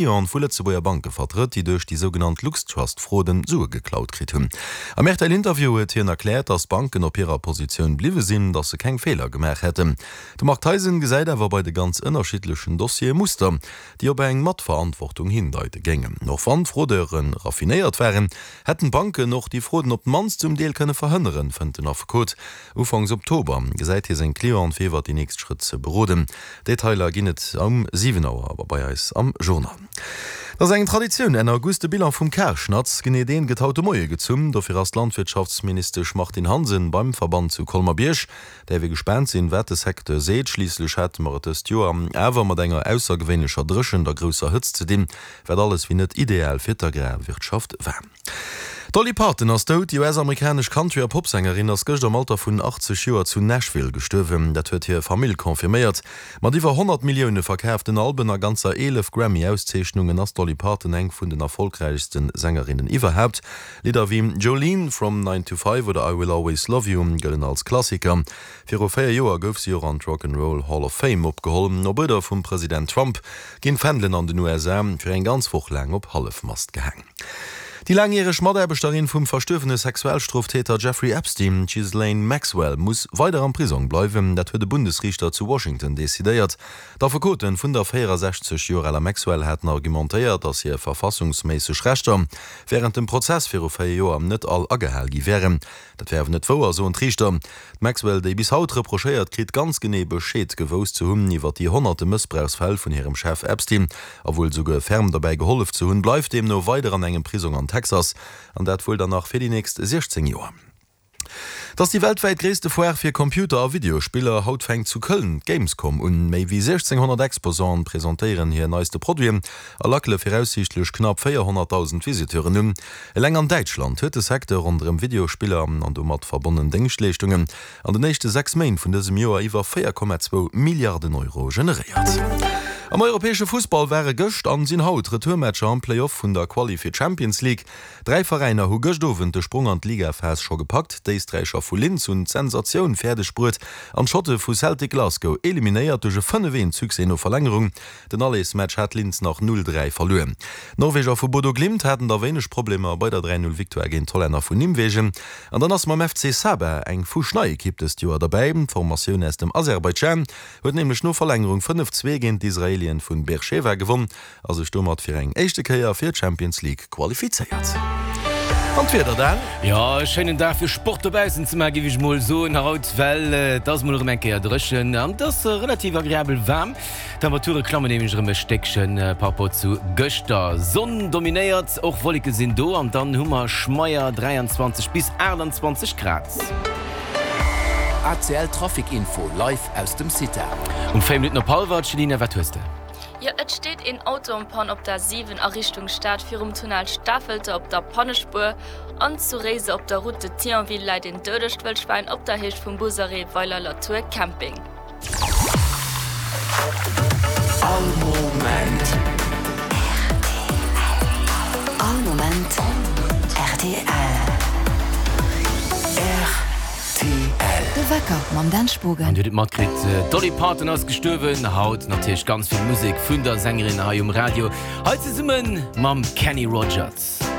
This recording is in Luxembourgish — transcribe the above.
Cliente vu Lëtzebuerger Banke vertrëtt, déi duerch déi sougenannt LuxTrust-Fraude Sue geklaut kritt hunn. Am RTL-Interview huet hien erkläert, datt d'Banken op hirer Positioun bliwwe sinn, datt se keng Feeler gemaach hätten. De Marc Theisen gesäit awer bei de ganz ënnerschiddlechen Dossiere Muster, déi op eng Matverantwortung hindeite géingen. Och wann d'Fraudeure raffinéiert waren, hätten d'Banken och déi Frauden op d'mannst zum Deel kënne verhënneren, fënnt den Affekot. Ufanks Oktober gesäit hie seng Cliente fir iwwer déi nächst Schrëtt ze beroden. Detailer ginn et um 7 Auer bei eis am Journal. Et ass eng Traditioun, Enn August de Bilan vum Karschnatz. Genee deen gëtt haut de Moie gezunn. Dofir ass d'Landwirtschaftsministesch Martine Hansen beim Verband zu Colmer-Bierg. Däerf ee gespaant sinn, wat de Secteur seet. Schliisslech hate mer et dëst Joer awer mat enger aussergewéinlecher Dréchent a grousser Hëtzt ze dinn, wat alles wéi net ideal fir d'Agrarwirtschaft war. D'Dolly Parton ass dout. Déi US-amerikanesch Country a Popsängerin ass gëscht am Alter vun 80 Joer zu Nashville gestuerwen. Dat huet hir Famill confirméiert. Mat iwwer 100 Millioune verkaaften Alben a ganzer 11 Grammy-Auszeechnungen ass d'Dolly Parton eng vun den erfollegräichste Sängerinnen iwwerhaapt. Lidder wéi Jolene, From Nine to Five oder I Will Always Love You gëllen als Klassiker. Viru 4 Joer gouf si och an d'Rock 'n' Roll Hall of Fame opgeholl. Op Uerder vum President Trump ginn d'Fändelen an den USA fir eng ganz Woch laang op Hallefmast gehaang. Déi laangjäreg Mataarbechterin vum verstuerwene Sexualstroftäter Jeffrey Epstein, d'Ghislaine Maxwell, muss weider am Prisong bleiwen. Dat huet e Bundesriichter zu Washington decidéiert. D'Affekote vun der 64 Joer aler Maxwell haten argumentéiert, datt hir verfassungsméisseg Rechter wärend dem Prozess viru 4 Joer net all agehal gi wären. Dat wär awer net wouer, soen d'Riichter. D'Maxwell, déi bis haut reprochéiert kritt, ganz genee Bescheed gewousst ze hunn iwwer déi honnerte Mëssbrauchsfäll vun hirem Chef Epstein a wuel souguer ferm derbäi gehollef ze hunn, bleift deemno weider an engem Prisong an Texas, an dat wuel dann nach fir déi nächst 16 Joer. Et ass déi weltwäit gréisste Foire fir Computer a Videospiller. Haut fänkt zu Köln d'Gamescom un. Méi wéi 1.600 Exposanten presentéieren hir neiste Produiten a lackele viraussiichtlech knapp 400.000 Visiteuren un. Eleng an Däitschland huet de Secteur ronderëm Videospiller an domat verbonnen Déngschtleeschtungen an den éischte 6 Méint vun dësem Joer iwwer 4,2 Milliarden Euro generéiert. Am europäesche Fussball ware gëscht an sinn haut Retourmatcher am Play-Off vun der Quali fir d'Champions League. Dräi Veräiner hu gëscht Owend de Sprong an d'Ligaphas scho gepackt. D'Éisträicher vu Linz hunn d'Sensatioun fäerdeg bruet an d'Schotte vu Celtic Glasgow eliminéiert duerch e 5, 1 Succès no Verlängerung. Den Allersmatch hat Linz nach 0, 3 verluer. D'Norweger vu Bodo Glimt haten da wéineg Problemer bei der 3, 0 Victoire géint d'Hollänner vun Nimwegen. An dann ass mam FC Sabah eng fuschnei Ekipp dëst Joer derbäi. D'Formatioun aus dem Aserbaidschan huet nämlech no Verlängerung 5, 2 géint d'Israelien vun Beersheva gewonn a sech domat fir eng éischte Kéier fir d'Champions League qualifizéiert. An d'Wieder dann? Jo, e schéinen Dag fir Sport dobaussen ze maachen, géif ech mol soen haut, well et ass mol erëm eng Kéier dréchen an et ass relativ agreabel waarm. D'Temperature klammen nämlech erëm e Stéckchen par rapport zu gëschter. Sonn dominéiert, och Wolleke sinn do an dann hu mer schmeier 23 bis 28 Grad. ACL Trafic Info live aus dem CITA. Um 4 Minutten op hallwer, Céline, wat hues de? Jo, et steet een Auto en panne op der 7 a Richtung Stad virum Tunnel Stafelter op der Pannespuer an zu Réiser op der Route de Thionville läit een doudegt Wëllschwäin op der Héicht vum Busarrêt Weiler-la-Tour Camping. All Moment. All Moment rtl. Rtl. De Wecker mam Dan Spogen. An dir hutt et matkritt, d'Dolly Parton ass gestuerwen. Haut natierlech ganz vill Musek vun der Sängerin hei um Radio, hei zesumme mam Kenny Rogers.